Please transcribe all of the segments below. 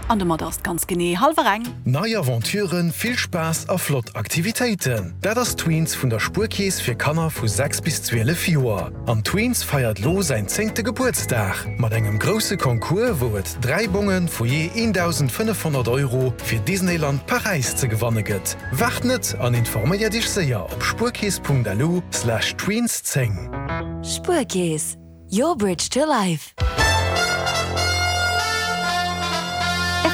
An domat ass et ganz genee hallwer eng. Nei Aventuren, vill Spaass a flott Aktivitéiten, dat ass Tweens vun der Spuerkeess fir Kanner vu 6 bis 12 Joer. An Tweens feiert lo säin zéngte Gebuertsdag mat engem grousse Concours, wou et 3 Bonge vu jee 1.500 Euro fir Disneyland Paräis ze gewanne gëtt. Waart net an informéiert iech séier op spuerkeess.lu slash tweens 10. Spuerkeess, your bridge to life.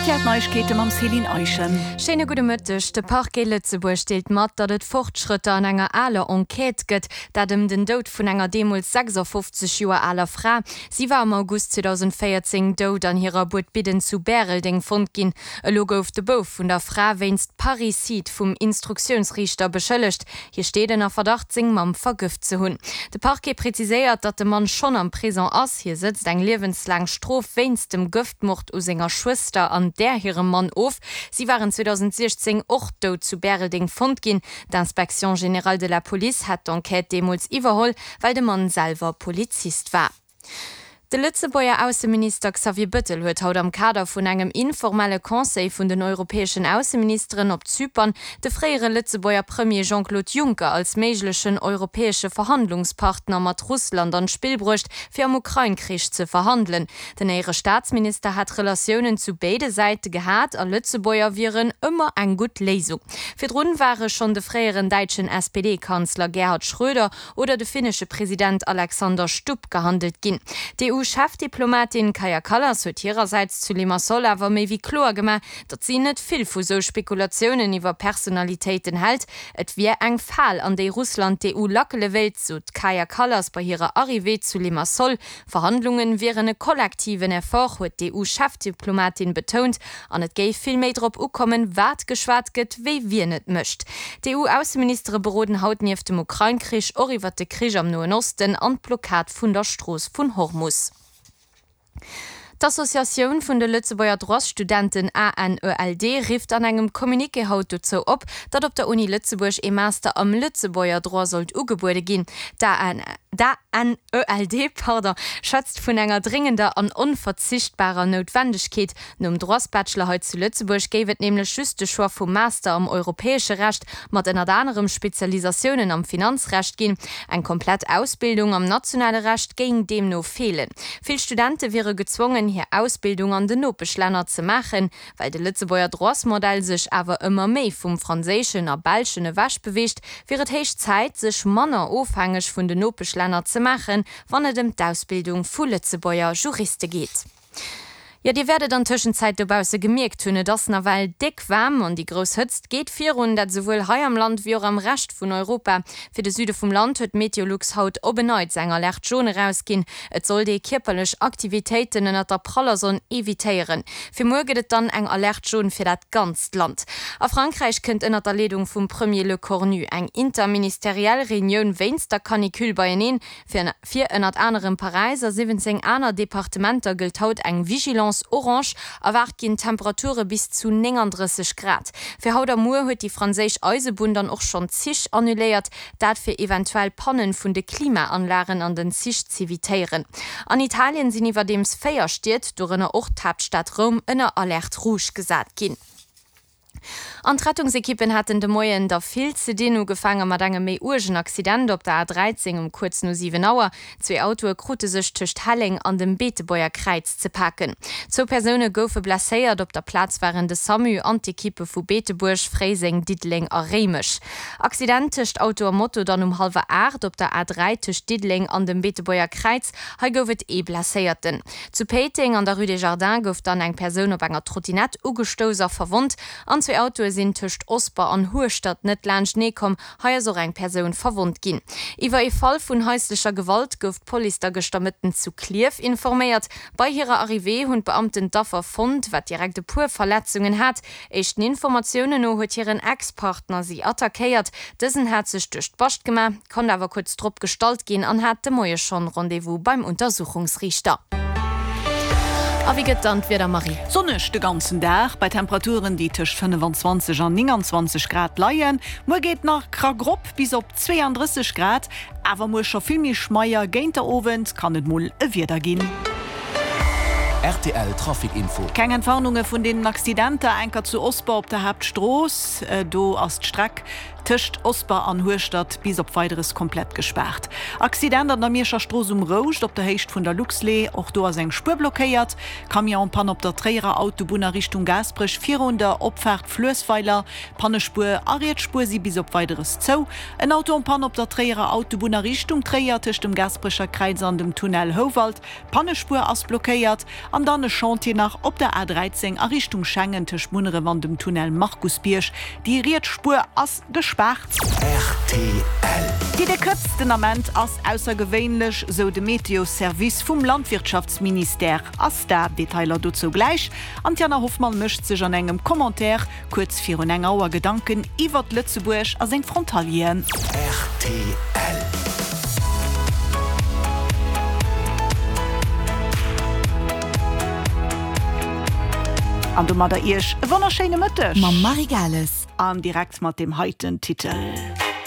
Rtl Neiegkeete mam Céline Eischen. Schéine gudde Mëtteg. De Parquet Lëtzebuerg deelt mat, datt et Fortschrëtter an enger aler Enquête gëtt, dat ëm den Doud vun enger deemools 56 Joer aler Fra. Si war am August 2014 dout an hirer Buedbidden zu Bäreldeng fonnt ginn. Elo gouf de Bouf vun der Fra wéinst Parricide vum Instruktiounsriichter beschëllegt. Hie steet ënner Verdacht, seng Mamm vergëft ze hunn. De Parquet preziséiert, datt de Mann schonn am Prison ass. Hie sëtzt eng liewenslaang Strof wéinst dem Gëftmord u senger Schwëster an där hirem Mann of. Si waren 2016 och dout zu Bäreldeng fonnt ginn. D'Inspection générale de la police hat d'Enquête deemools iwwerholl, well de Mann selwer Polizist war. De Lëtzebuerger Ausseminister Xavier Bëttel huet haut am Kader vun engem informelle Conseil vun den europäeschen Ausseministeren op Zypern de fréiere Lëtzebuerger Premier Jean-Claude Juncker als méiglechen europäesche Verhandlungspartner mat Russland an d'Spill bruecht, fir am Ukrain-Krich ze verhandelen. Den Éierestaatsminister hätt Relatiounen zu béide Säite gehat a Lëtzebuerger wieren ëmmer eng gutt Léisung. Virdrun ware schonn de fréieren däitschen SPD-Kanzler Gerhard Schröder oder de finnesche President Alexander Stubb gehandelt ginn. D'EU-Chefdiplomatin Kaja Kallas huet hirersäits zu Limassol awer méi wéi kloer gemaach, datt si net vill vu sou Spekulatiounen iwwer Personalitéiten hält. Et wier eng Fal, an déi Russland d'EU lackele wéilt, sot d'Kaja Kallas bei hirer Arrivée zu Limassol. Verhandlungen wieren e kollektiven Effort, huet d'EU-Chefdiplomatin betount, an et géif vill méi drop ukommen, wat geschwat gëtt, wéi wien et mécht. D'EU-Ausseministere beroden haut nieft dem Ukrain-Krich och iwwert de Krich am Noen Osten an d'Blockad vun der Strooss vun Hormus. D'Associatioun vun de Lëtzebuerger Droitsstudenten ANELD rifft an engem Communiqué haut dozou op, datt op der Uni Lëtzebuerg ee Master am Lëtzebuerger Droit sollt ugebuede ginn. D'ANELD schwätzt vun enger dréngender an onverzichtbarer Noutwendegkeet, Nom Droitsbachelor hei zu Lëtzebuerg géif et nämlech just de Choix vum Master am europäesche Recht mat ënnert anerem Spezialisatiounen am Finanzrecht ginn. Eng komplett Ausbildung am nationale Recht géing deemno feelen. Vill Studente wiere gezwongen, hir Ausbildung an den Nopeschlänner ze maachen. Well de Lëtzebuerger Droitsmodell sech awer ëmmer méi vum franséischen a belschen ewech beweegt, wier et héich Zäit, sech manner ofhängeg vun den Nopeschlänner ze maachen, wann et ëm d'Ausbildung vu Lëtzebuerger Juriste geet. Jo, dir wäert et an Tëschenzäit dobausse gemierkt hunn, et ass nawell déck waarm an déi grouss Hëtzt geet virun, dat esouwuel hei am Land wéi och am Rescht vun Europa. Fir de Süde vum Land huet Meteolux haut op en Neits eng Alerte jaune erausginn. Et sollt ee kierperlech Aktivitéiten ënnert der praller Sonn evitéieren. Fir muer gëtt et dann eng Alerte jaune fir dat ganzt Land. A Frankräich kënnt ënnert der Leedung vum Premier Lecornu eng interministeriell Reunioun wéinst der Canicule beieneen. Fir ënnert anerem Paräis a 17 aner Departementer gëllt haut eng Vigilance orange. Erwaart ginn Temperature bis zu 39 Grad. Fir haut a muer huet déi franséisch Eisebunn dann och schonn Zich annuléiert, dat fir eventuell Pannen vun de Klimaanlagen an den Zich z'evitéieren. An Italien sinn iwwerdeems 4 Stied, dorënner och d'Haaptstad Roum, ënner Alerte rouge gesat ginn. An d'Rettungsekippen haten de Moien der vill ze dinn. Ugefaange mat engem méi uergen Accident op der A13 um kuerz no 7 Auer. Zwee Autoe krute sech tëscht Helleng an dem Beetebuerger Kräiz ze paken. Zwou Persoune goufe blesséiert. Op der Plaz waren de Samu an d'Ekippe vu Beetebuerg, Fréiseng, Diddeleng a Réimech. Accident tëscht Auto a Moto dann um hallwer 8 op der A3 tëscht Diddeleng an dem Beetebuerger Kräiz. Hei gouf et ee Blesséierten. Zu Péiteng an der Rue des Jardins gouf dann eng Persoun op enger Trottinett ugestouss a verwonnt. An zwee Autoe sinn tëscht Osper an Hueschtert net laanschtenee komm. Hei ass och eng Persoun verwonnt ginn. Iwwer ee Fall vun haislecher Gewalt gouf d'Police da gëschter Mëtten zu Klierf informéiert. Bei hirer Arrivée hunn d'Beamten d'Affer fonnt, wat direkt e puer Verletzungen hat. Éischten Informatiounen no huet hiren Ex-Partner si attackéiert. Dësen hat sech duerch d'Bascht gemaach, konnt awer kuerz drop gestallt ginn an hat de Moie schonn Rendez-vous beim Untersuchungsriichter. A wéi gëtt dann d'Wieder, Marie? Sonneg de ganzen Dag, bei Temperaturen déi tëscht 25 an 29 Grad leien. Muer geet nach krack rop bis op 32 Grad, awer muer scho vill méi schmeier. Géint der Owend kann et mol e Wieder ginn. Rtl Trafic Info. Keng Entwarnunge vun deenen Accidenter, enker zu Osper op der Haaptstrooss. Do ass d'Streck tëscht Osper an Hueschtert bis op Weideres komplett gespaart. Accident an der Mierscher Strooss um Rouscht op der Héicht vun der Luxlait, och do ass eng Spuer blockéiert. Camion en panne op der Tréierer Autobunn a Richtung Gaasperech virun der Opfaart Fluessweiler. Pannespuer a riets Spuer si bis op Weideres zou. En Auto en panne op der Tréierer Autobunn a Richtung Tréier tëscht dem Gaasperecher Kräiz an dem Tunnel Houwald. D'Pannespuer ass blockéiert. An dann e Chantier nach op der A 13 a Richtung Schengen tëscht Munneref an dem Tunnel Markusbierg. Déi riets Spuer ass gespaart. Rtl. Déi déck Hëtzt den Ament ass aussergewéinlech, sou de Meteo-Service vum Landwirtschaftsministère. Asta. Detailer dozou gläich. An d'Jana Hoffmann mécht sech an engem Commentaire kuerz virun eng Auer Gedanken iwwert Lëtzebuerg a seng Frontalieren. Rtl. An domadder Iech e wonnerschéine Mëtteg. Mam Marie Gales. An direkt mat deem heiten Titel.